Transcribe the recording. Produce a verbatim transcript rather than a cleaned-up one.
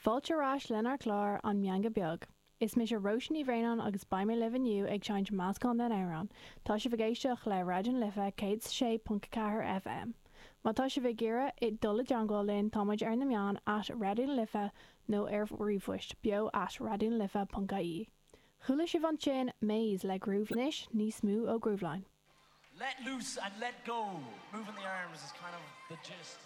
Fáilte ar ais lenár gclár an Meangadh Beag. Is mise Róise Ní Bhraonáin agus beidh mé libh inniu ag seinnt meascán den amhrán. Tá sibh ag éisteacht le Raidió na Life céad sé ponc ceathair FM. Má tá sibh ag iarraidh dul i dteagmháil linn táimid ar na meáin at Raidió na Life nó ar ríomhphost beo at raidiónalife.ie. Chuala sibh ansin Maze le Groove anois níos mó ó Grooveline. Let loose and let go. Moving the arms is kind of the gist.